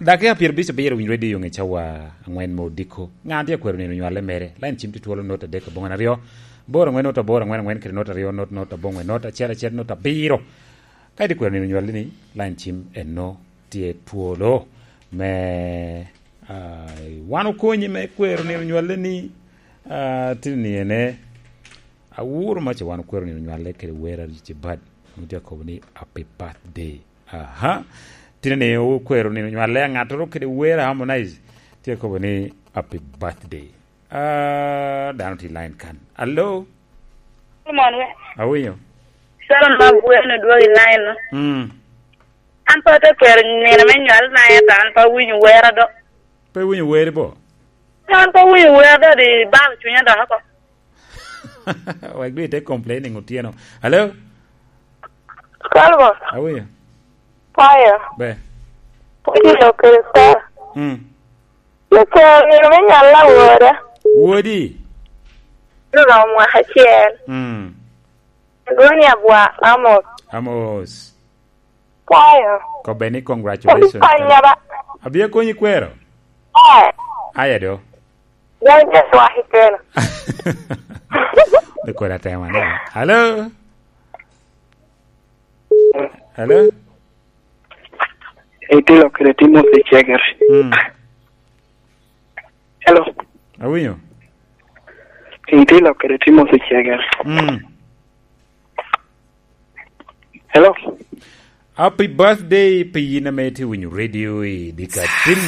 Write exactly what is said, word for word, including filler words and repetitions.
Dakika pyero abic abiro winyo redio i ŋe cawa angwen me odiko. Ŋa tye akwero nino nywale mere? Lain cim tye twolo not adek aboŋwen aryo, aboro angwen not aboro angwen angwen kede not aryo not not aboŋwen not acel acel not abiro. Ka itye kwero nino nywale ni, lain cim eno tye twolo me, ah, wan okonyi me kwero nino nywale ni, ah, tye ni ene, awuro ma ce wan okwero nino nywale kede wer a Richie Bad. Nwoŋo tye akobo ni, "Happy birthday." Aha. Tye ni okwero nino nywale a ŋattoro kede wer a Harmonize. Tye akobo ni, "Happy birthday." Ah, dano tye i line kan. Alo? Mon we. Awinyo. Sara ma bweno dwogo i line no. Mm. An pe atye kwero nino me nywal na, ento an pe awinyo wer ado. Pe iwinyo wer bo? An pe awinyo wer ado, di balo cunya dok oko. Wek dwe ite complaining otyeno. Alo? Kalbo. Awinyo. Payo. Be. Pwony lo kede Sara. Mm. Lucer nino me nywal awoda. Wodi? Oromo mwaka acel. Mm. Lwoni abwa, Amos. Amos. Kwayo. Kobbe ni congratulations. Konya ba. Abia konyi kwero? Eh. Aya do. Dai je twaki keno. De kora tema ne. Hello? Hello? Itilo kede Timothy Cheger. Mm. Hello. Awinyo. Itilo kede Timothy Cheger. Mm. Hello. Happy birthday, pi yin ame itye winyo radio i dikatin.